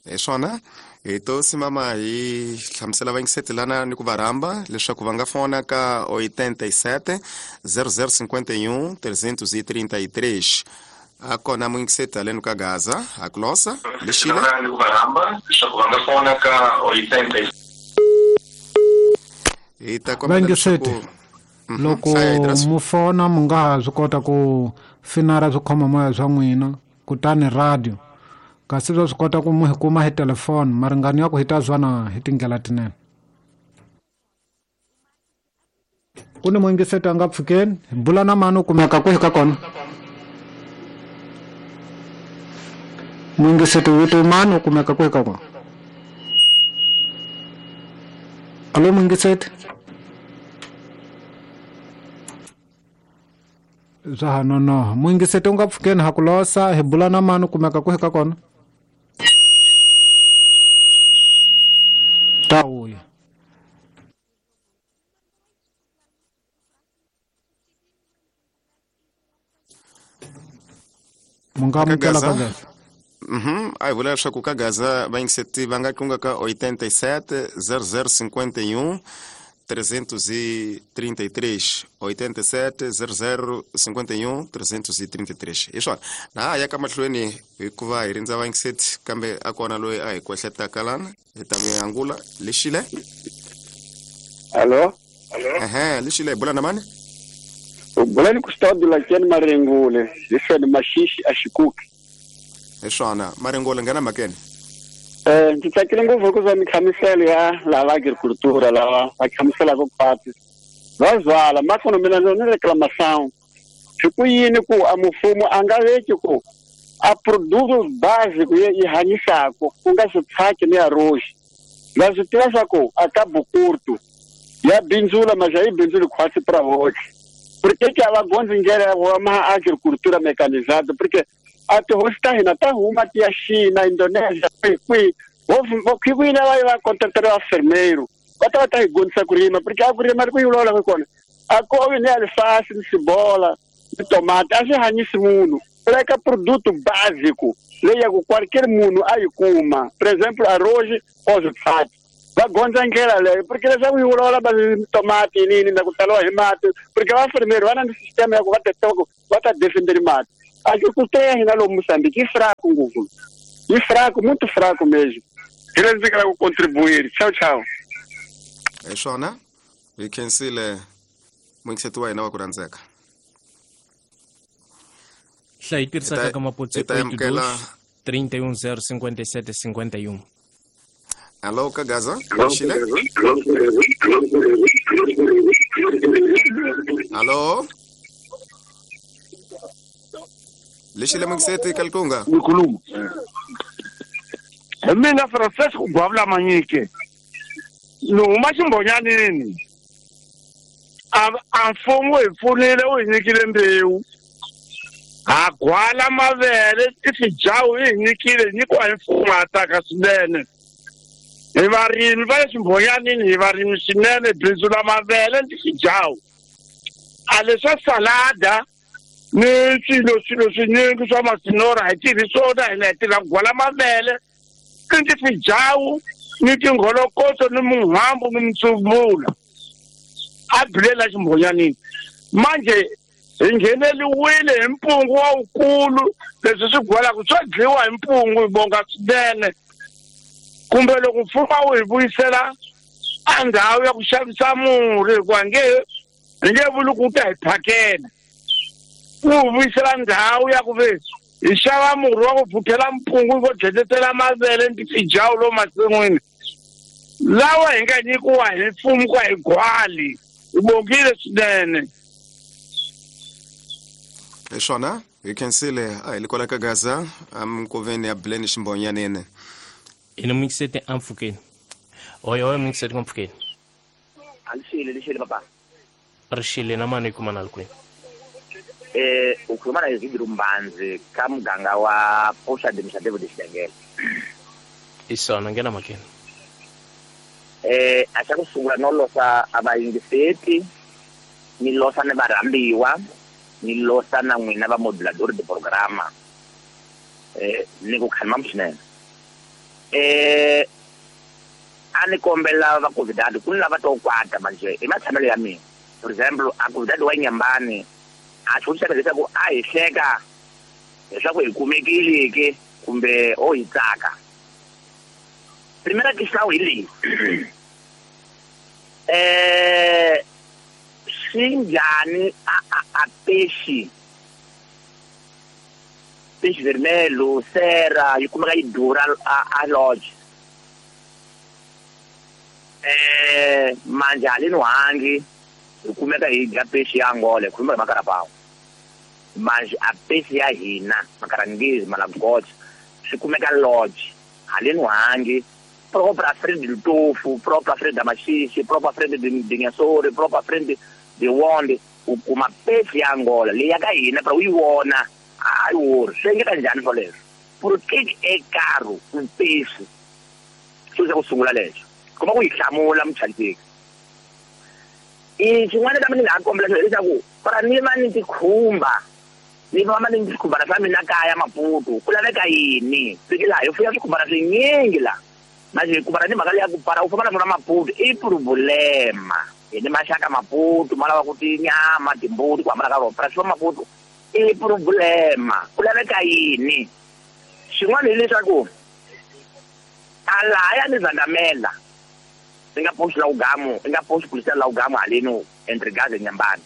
Hi swona hi to simama hi hlamusela vayingiseti lana ni ku va rhamba leswaku va nga fona ka oitenta e sete zero zero cinquenta e um trezentos e trinta e três. A kona muyingiseti haleni ka Gaza Hakulosa lexile ni ku va rhamba leswaku va nga fona ka oitenta hi ta kombela Vayingiseti loko mu fona mu nga ha swi kota ku finara swi khoma moya swa n'wina kutani radio kasi swa swi kota ku mu hi kuma hi telefoni maringano ya ku hi ta zwana hi tindlela tinene. Ku ni muyingiseti a nga pfukeni hi bula na mani u kumeka kwihi ka kona. Muyingiseti vito mani u kumeka kwihi ka kona. Alo muyingiseti swa ha nonoha. Muyingiseti u nga pfukeni Hakulosa hi bula na mani u kumeka kwihi ka kona. Ta vuya. Mu nga amukela ka Gaza. Mhm, a hi vula leswaku ka Gaza vayingiseti va nga qunga ka oitenta e sete zero zero cinquenta e um trezentos e trinta e três, oitenta e sete zero zero cinquenta e um trezentos e trinta e três. Hi swona na ha ya ka mahlweni hikuva hi rindza vayingiseti kambe a kona loyi a hi kwehletaka lana hi ta mi angula. Lexile Alo ehe lexile hi bula na mani. U bula ni Custódio Lakeni Marengule hi swona Maxixi a Xikuki. Hi swona Marengule nghena mhakeni. Eh ndzi tsakile ngopfu hikuva mihlamuselo ya lava agricultura lava va hlamuselaka khwatsi va zwala makono mina ni reclamação swi ku yini ku a mfumo a nga veki ku a produto básico yi hanyisaka ku nga switshaki ni arroz va swi tiva swa ku a ka bukurtu ya bindzula mas a yi bindzuli khwatsi pra hoxe porque que a va gondzi ndlela ya ku ma agricultura mecanizada porque a tihosi ta hina ta huma ti ya China, Indonesia, kwihi kwihi vo va va contratela vafermeiro va ta va ta hi gondzisa ku rima porque a ku rima ri ku yi vulavulaka kona a kovi ni alifasi ni cebola ni tomati a swi hanyisi munhu u laveka produto básico leyi ya ku qualquer munhu a yi kuma, por exemplo arroz ou switshaki Va gondza ndlela leyo porque leswaku yi vulavula va tomati nini na ku taliwa hi mati porque vafermeri va na ni system ya ku va ta va ta defenderi mati. Agricultura ya hina lomu Mozambique yi fraco ngopfu, yi fraco muito fraco mesmo. Hi leswi ndzi nga ku contribuir. Ciao ciao. Hi swona hi khensile muyingiseti wa hina wa ku rhandzeka. Hlayi tirhisaka ka mapotse oito trinta e um zero cinquenta e sete cinquenta e um. Alô, Kagaza? Chile? Alô? Lexile muyingiseti Kalkunga? Nikhuluma. Hi mina Francisco Gwavula Manyike. Ni huma ximbonyanini. A a mfumo hi pfunile wu hi nyikile mbewu. Ha gwala mavele tifijawu yi hi nyikile nyikiwa hi mfumo ha tsaka swinene. Hi varimi va le ximbonyanini hi varimi swinene bindzu la mavele ni tifijawu. A leswa salada ni swilo swilo swinyingi swa masinora hi tirhi swona hina hi tirha ku gwala mavele ni tifijawu ni tingholokoto ni muhambu ni mitsumula a bilela ximbonyanini. Manje hi ngheneliwile hi mpungu wa wukulu leswi swi gwalaka swa dliwa hi mpungu hi bonga swinene. Kumbe loko mfumo wu hi vuyisela a ndhawu ya ku xavisa murhi hikuva nge hi nge vuli ku ta hi phakela, wu hi vuyisela ndhawu ya ku ve hi xava murhi wa ku phuthela mpungu vo dletetela mavele ni tifijawu lomu masin'wini lawa hi nga nyikiwa hi mfumo ku hi gwali. Hi bongile swinene. Hi swona hi khensile a hi le kwala ka Gaza aminkoveni ya Bileni ximbonyanini. Hi na muyingiseti a mpfhukeni. Oyo oyo muyingiseti mpfhukeni. Alixile lixile papa. Rixile na mani hi kuma na le kwini? Eh u khuluma na Isidro Mbanzi ka muganga wa Poxa Administrativo de Xidengele. I swona nghena mhakeni. Eh a xa ku sungula no losa a vayingiseti ni losa ni varhambiwa ni losa na n'wina va modulador de programa eh ni ku khanima swinene. Eh a ni kombela va convidado ku ni lava to kwata manje i matshamelo ya mina. For example a convidado wa Nyambani a xivutiso leswaku a hi hleka leswaku hi kumekile ke kumbe o hi tsaka. Primera questão hi leyi eh swi njhani a a a peixe peixe vermelho sera yi kumeka yi durha a a lodge eh manje haleni hangi hi kumeka hi dya peixe ya Angola hi khuluma hi makarapawu manje a peixe ya hina makarangezi malagocha swi kumeka lodge haleni hangi própria frente do Tofo, própria frente da Maxixe, própria frente de de Nhassori, própria frente de Wonde, u kuma peixe ya Angola leyi ya ka hina pra u yi vona a yi wori swi endleka njhani swoleswo? Por que é caro um peixe? Xo xa ku sungula lexo kuma ku yi hlamula muchanteki. I xin'wana kambe ni nga ha kombela xona leswaku para ni va ni tikhumba ni va ni swikhumbana swa mina kaya Maputo ku laveka yini? Fiki laha hi fuya swikhumbana swinyingi laha manje kumbana ni mhaka leya ku para u famba na swona Maputo i problema. Hi ni maxaka Maputo ma lava ku tinyama timbuti ku hambana ka rona para swa Maputo i problema ku laveka yini? Xin'wana hileswaku a lahaya ni Zandamela i nga post la ugamu i nga post policial la ugamu haleno entre Gaza Nyambani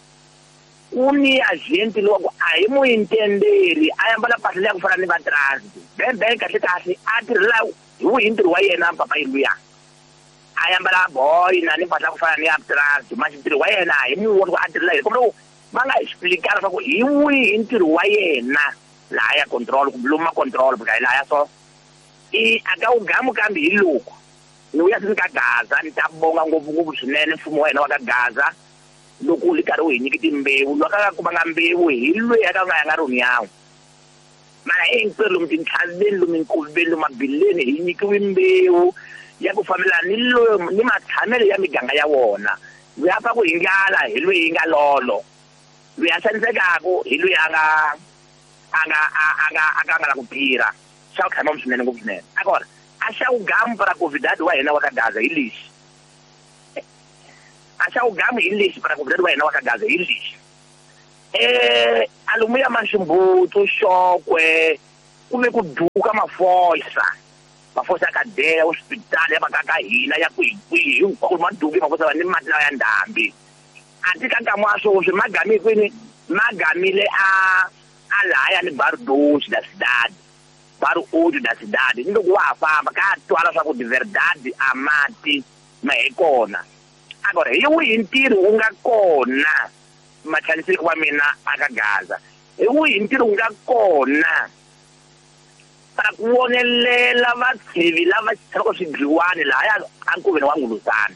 ku ni agente lowa ku a hi mu intenderi a ambala mpahla leya ku fana ni va transit bembe kahle kahle a tirhela hi wihi ntirho wa yena papa luya a ambala boy na ni mpahla ku fana ni ya transit manje ntirho wa yena hi mu voni ku a tirhela yini kumbe va nga explicar leswaku hi wihi ntirho wa yena laha ya control kumbe lomu ma control because hi lahaya so i a ka ugamu kambe hi loko ni vuya se ni ka Gaza ni ta bonga ngopfungopfu swinene mfumo wa hina wa ka Gaza loko wu ri karhi wu hi nyiki timbewu loko a nga kumanga mbewu hi loyi a ka nga ya nga ri yawu mara hinkwerhu lomu tintlhaveni lomu minkoveni lomu mabileni hi nyikiwe mbewu ya ku fambelana ni lomu ni matshamelo ya miganga ya wona. Loyi a pfaku hi ndlala hi loyi yi nga lolo, loyi a xanisekaka hi loyi a nga a nga a nga a nga la ku tirha. Xa ku tshama swinene ngopfu swinene. A kona a A xa ugamu para convidado wa hina wa ka Gaza hi lexi. A xa ugamu hi lexi para convidado wa hina wa ka Gaza hi lexi. Eh alumuya Mashimbutu Xokwe ku ve ku duka mafosa. Mafosa ya kadeya hospital ya makaka hina ya kwihi kwihi hinkwako maduki mafosa va ni mati lawa ya ndhambi. A ti ka nkama wa sweswi magami kwini magamile a a lahaya ni Bairro Doce da cidade. Bairro Oito da cidade. Ni loko wa ha famba ka twala swa ku de verdade a mati ma hi kona. Agora hi wihi ntirho wu nga kona machaniseki wa mina aka Gaza? Hi wihi ntirho wu nga kona para ku vonelela vatshivi lava tshamaka swidliwani lahaya ankoveni wa Nguluzana?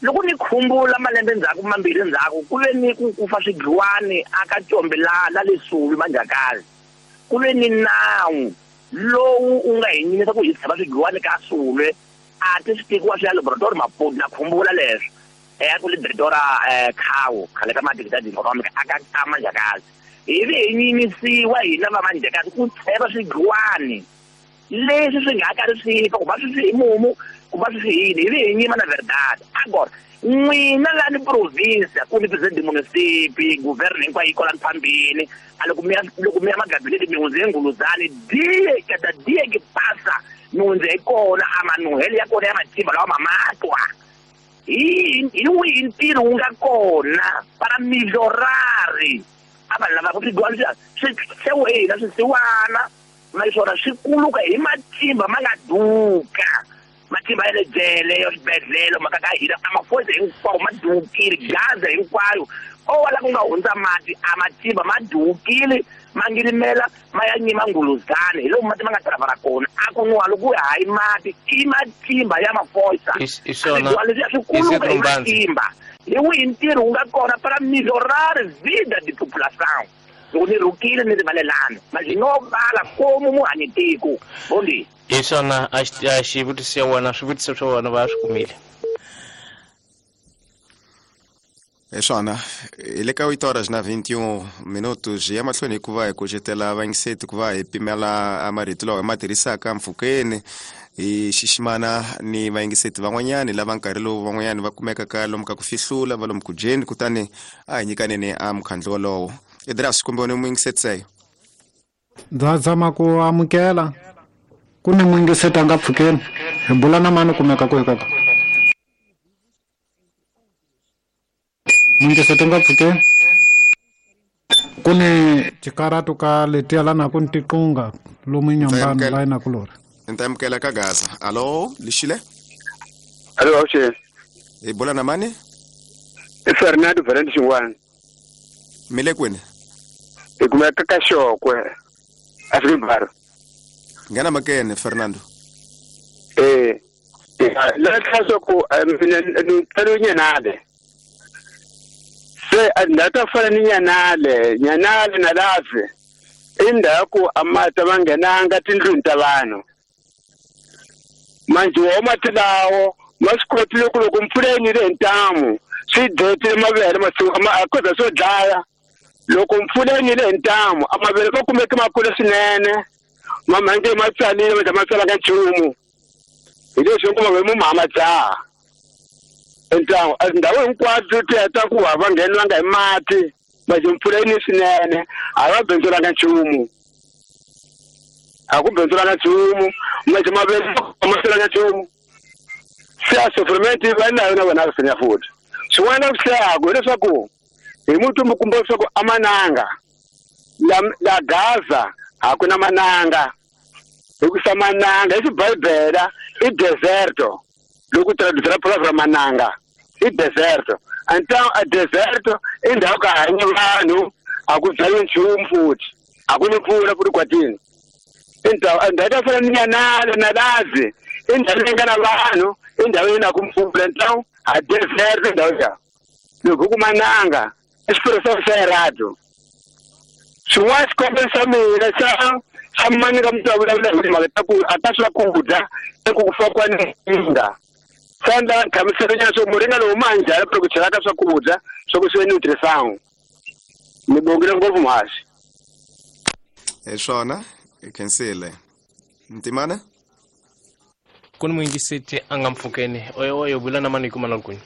Loko ni khumbula malembe ndzhaku mambirhi ndzhaku ku ve ni ku kufa swidliwani aka Combelala la le Sulu Manjakazi. Ku ve ni nawu lowu u nga hi nyimisa ku hi tshama swidliwani ka Sulu a ti swi tekiwa swi ya laboratory Maputo. Na khumbula leswo eh ku le diretora eh Khawo khale ka madikitadi economic aka ka Manjakazi. Hi ve hi nyimisiwa hina va Manjakazi ku tsheva swidliwani leswi swi nga karhi swi fa ku va swi swi hi mumu ku va swi swi yini. Hi ve hi nyima na verdade. Agora n'wina la ni province ku ni president munisipi governo hinkwayo yi kwala phambili a loko mi ya loko mi ya magabinete mi hundze Nguluzani die kada die ke pasa mi hundze hi kona a manuhelo ya kona ya matimba lawa ma matwa. Hi hi wihi ntirho wu nga kona para melhorari a vanhu lava ku swidliwani swi swi hina swisiwana naswona swi kuluka hi matimba ma nga duka. Matimba ya le jele ya swibedhlele mhaka ka hina a mafosa hinkwawo ma dukile. Gaza hinkwayo o la ku nga hundza mati a matimba ma dukile ma ngirimela ma ya nyima Nguluzani hi lomu mati ma nga travara kona. A ku nwa loko hayi mati i matimba ya mafosa leswiya swi kuluka hi matimba. Hi wihi ntirho wu nga kona para melhorar vida de população? Loko ni rhukile ni rivalelana mas no vala komu muhanyi tiko bondi. Hi swona a xivutiso ya wena swivutiso swa wena va swi kumile. Hi swona hi le ka oito horas na vinte e um minutos ya mahlweni hikuva hi kucetela vayingiseti ku va hi pimela marito lawa hi ma tirhisaka mpfhukeni hi xiximana ni vayingiseti van'wanyani lava nkarhi lowu van'wanyani va kumekaka lomu ka ku fihlula va lomu ku dyeni kutani a hi nyikaneni a mukhandlu wolowo. Edras kumbe ni muyingiseti seyo ndza zama ku amukela ku ni muyingiseti a nga pfukeni hi bula na mani kumeka ku hi kaka muyingiseti a nga pfukeni ku ni tikaratu ka letiya lana ku ni tiqunga lomu inyambani la ina kulori. Ni ta amukela ka Gaza. Alo lixile. Alo awuxeni. Hi bula na mani? I Fernando Valente Xingwana. Mi le kwini? Hi kumeka ka Xokwe Afrika. Nghena makene Fernando. Eh la tlhaso ku mina ni tsalo nyanale. Se a ndata fana ni nyanale, nyanale na lave. Indaku amata va nghenanga tindlwini ta vanhu. Manje wo mati lawo ma swi kotile ku loko mpfula yi nile hi ntamu swi dletile mavele masiku a koza swo dlaya. Loko mpfula yi nile hi ntamu a mavele ma kumeke ma kula swinene mamhange ma tsalile ma ma tsalanga nchumu hi leswi ku mavele mu ma dzaha. Ntamu ndhawu hinkwato ti heta ku va va ngheniwanga hi mati manje mpfula yi ni swinene a va bindzulanga nchumu. A ku bindzulanga nchumu manje mavele ma tsalanga nchumu. Se a sofrimento va na yona vona swi futhi. Swin'wana swi hlayaku hileswaku hi mutumbu kumbe leswaku a mananga la la Gaza a ku na mananga hikusa mananga i xibibele i deserto loko traducir palavra mananga i deserto. Então a deserto i ndhawu ka hanya vanhu a ku byariwi nchumu futhi a ku ni mpfula futhi kwatini. Então ndhawu ta fana ni nyanale na lazi i ndhawu leyi nga na vanhu i ndhawu leyi na ku mpfula. Então a deserto ndhawu ya loko ku mananga i expressão xa errado. Swin'wana xikombelo xa mina xa xa mani ka mutwa vulavula hi timhaka ta ku a ta swakudya eku ku fa kwa ninga. Sanda hlamusela swo muringa lowu ma njhani ku chela ka swakudya swa ku swi nutrition. Ni bongile ngopfu muhaxi. Hi swona hi khensile. Ntimana? Ku ni muyingiseti a nga mpfhukeni oyo oyo vula na mani hi kuma na kwini.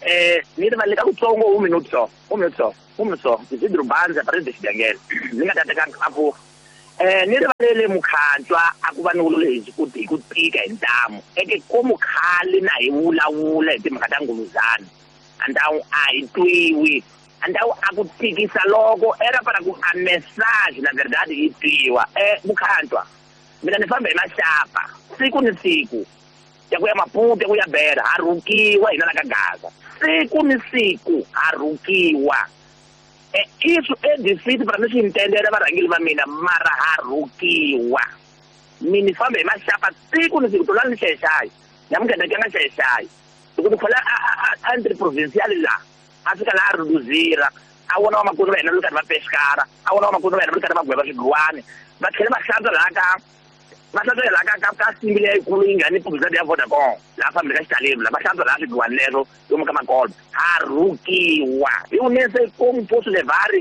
Eh ni rivalele ka kutsongo un minuto só, un minuto só, un minuto só. Isidro Banza para de Xidangele. Ni nga ta teka a ku eh ni rivalele mukhantswa a ku va ni wulu ku hi ku tika hi ntamu. Eke ko mukhali na hi vulavula hi timhaka ta nguluzana. Andawu a hi twiwi. Andawu a ku tikisa loko era para ku a message na verdade yi twiwa. Eh mukhantswa mina ni famba hi maxapa siku ni siku. Ya ku ya Maputo ya ku ya Beira ha rhukiwa hina la ka Gaza. Siku ni siku ha rhukiwa. E isso é difícil para mim se entender varhangeri va mina mara ha rhukiwa. Mina ni famba hi maxapa siku ni siku tolani ni xayaxaya. Namuntlha ni nga xayaxaya. Loko ni khola a entre provincial la a fika laha a rhuduzira a vona vamakwerhu va hina va ri karhi va pexikara a vona vamakwerhu va hina va ri karhi va gweva swigwani va tlhela va hlantswa laha ka va hlantswa laha ka ka ka simbi leyikulu yi nga ni publicity ya Vodacom laha fambeni ka xitaleni laha va hlantswa laha swigwani leswo lomu ka makolo ha rhukiwa hi unese como posso levar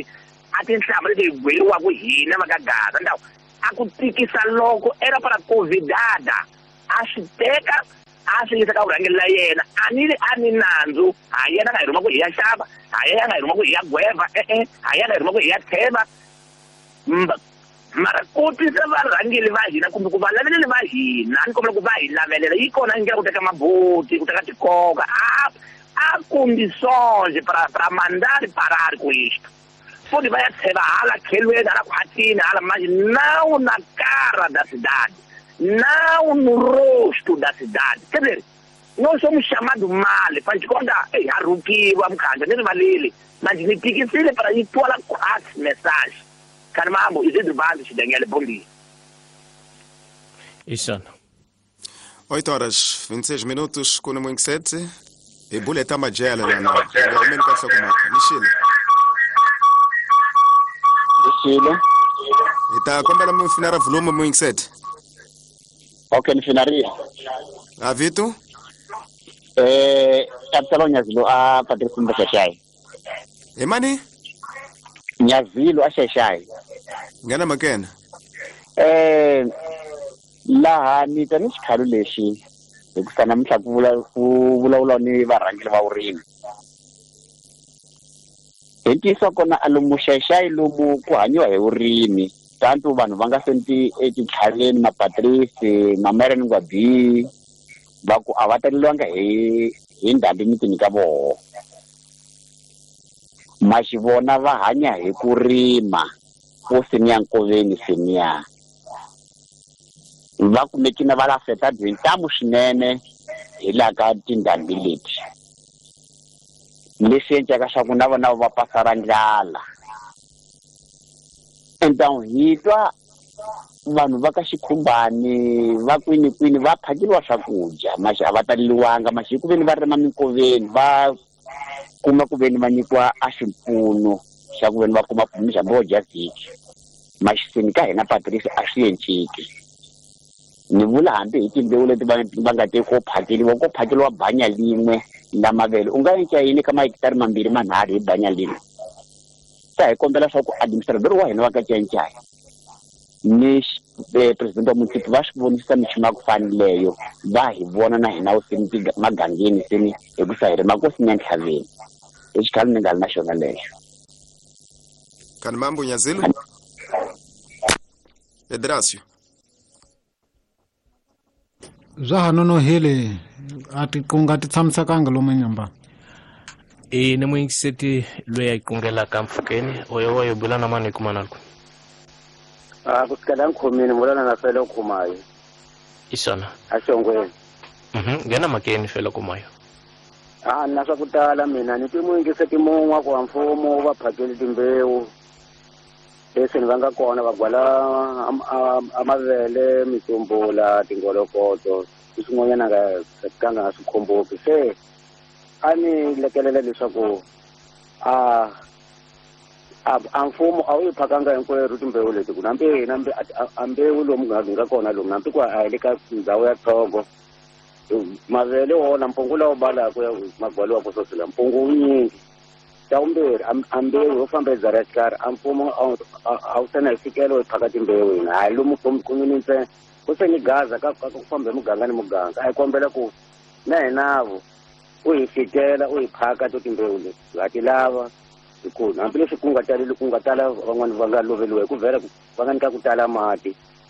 a tinhlamba leti hi gweriwaka hina va ka Gaza ndhawu a ku tikisa loko era para convidada a swi teka a swi yisa ka vurhangeri la yena a ni a ni nandzu ha yena nga hi rhuma ku hi ya xava ha yena nga hi rhuma ku hi ya gweva e-e ha yena hi rhuma ku hi ya tsheva mara ku twisa varhangeri va hina kumbe ku va laveleli va hina ni kombela ku va hi lavelela yi kona ndlela ku teka maboti ku teka tikoka a a condições para para mandar parar com isto. Pode vai tsheva hala khelweni hala khwatini hala mas não na cara da cidade, não no rosto da cidade. Quer dizer, nós somos chamados mal, faz de conta, ei, ha rhukiwa mukhandla ni rivaleli, mas ni tikisile para yi twala khwatsi message. Carmambo, Isidro Banza, Xidangele, bom dia. Isana. oito horas, vinte e seis minutos, com o sete. E buleta majela lá na. Realmente ka hlokomaka. Mixile. Mixile. Ita kombela mu finara volume mu sete. Okay, ni finaria. A Vito? Eh, Capitalo Nyazilo a Patrice Mbashashai. E mani? Nyazilo a Shashai. Ngana makena. Eh, laha ni ta ni xikhalo lexi hikusa namuntlha ku vula ku vulavula ni varhangeri va vurimi. Hi ntiyiso kona a lomu Xaxai lomu ku hanyiwa hi vurimi tanto vanhu va nga senti etintlhaveni mapatrisi mamereni ngwabi va ku a va taleliwanga hi hi ndhambi mitini ka voho. Maxivona va hanya hi ku rima ko seniya nkoveni seniya va kumekile va la afectado hi ntamu swinene hi laha ka tindhambi leti leswi endlaka swa ku na vona va pasara ndlala. Então hi twa vanhu va ka xikhumbani va kwini kwini va phakeriwa swakudya maxi a va taleliwanga maxi ku veni va rima minkoveni va kuma ku veni va nyikiwa a xipfuno xa ku veni va kuma mixambo wo dya vhiki maxisini ka hina Patrice a swi enciki. Ni vula hambi hi timbewu leti va va nga te ko phakeriwa ko phakeriwa banya lin'we la mavele u nga endla yini ka mahekitari mambirhi manharhu hi banya lin'we. Ta hi kombela swa ku administrator wa hina wa ka Cancaya ni president wa municipal va swi vonisa minchumu ya ku faneleyo va hi vona na hina usini magangeni seni hi ku sa hi rima ko sinya ntlhaveni hi xikhalo ni nga ri na xona lexo. Kan mambo Nyazilo Edrasio bya ha nonohile a ti ku nga ti tshamisekanga lomu nyamba. E ni muyingiseti loyi a yi kungelaka mpfhukeni oyo oyo bula na mani hi kuma na ku. A ku sukela nkhomini vulana na fele khumayo. Isana. A xongweni. Mhm, nghena makeni fele khumayo. A na swa ku tala mina ni ti muyingiseti mun'we ku wa mfumo va phakeli timbewu leswi ni va nga kona va gwala a mavele mitsumbula tingolokoto ni swin'wanyana nga ka nga swi khomboki se a ni lekelela leswaku a a a mfumo a wu yi phakanga hinkwerhu timbewu leti ku nambi hina a mbewu lomu nga nga kona lomu nambi ku a hi le ka ndhawu ya tsongo mavele wona mpungu lawo balaka ya magwaliwaka swoswi mpungu wu nyingi. Xa vumbirhi a mbewu yo famba hi byala xikarhi a mfumo a wu se na hi fikelo hi phaka timbewu hina hayi lomu kumini ntsena Ku se ni gaza ka ka ku famba hi muganga ni muganga a hi kombela ku na hinavo u hi fikela u hi phaka to timbewu leti ha ti lava hi ku hambileswi ku nga taleli ku nga tala van'wani va nga loveliwa hi ku vhela va nga nyika ku tala mati.